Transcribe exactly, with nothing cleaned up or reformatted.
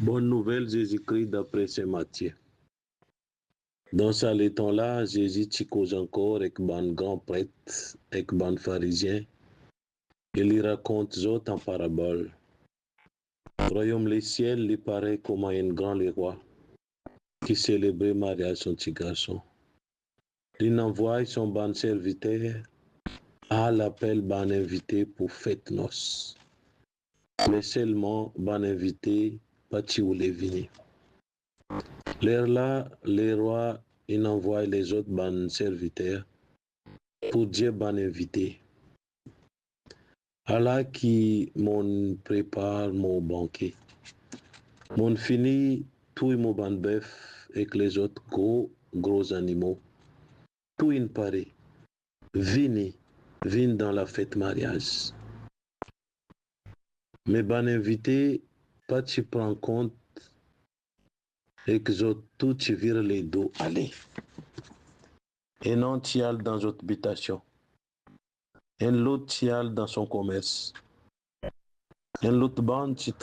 Bonn Nouvel Zezikri dapre Sin Matie. Dan sa letan la, Zezi ti koz ankor ek bann gran pret ek bann Farizien, e li rakont zot an parabol. Rwayom lesiel li parey kouma enn gran lerwa ki selebre maryaz son ti garson. Linn anvway son bann serviter al apel bann invite pou fet nos. Me selman bann invite pa ti oule vini. Lerla lerwa inn anvway lezot bann serviter pou dir bann invite, "Ala ki monn prepar mo banke. Monn fini touy mo bann bef ek lezot gro, gro zanimo. Tou inn pare. Vini, vinn dan lafet maryaz." Me bann invite pa ti pran kont ek zot tou ti vir ledo ale. Enn-enn ti al dan zot bitasion. Enn lot ti al dan son komers. Enn lot bann ti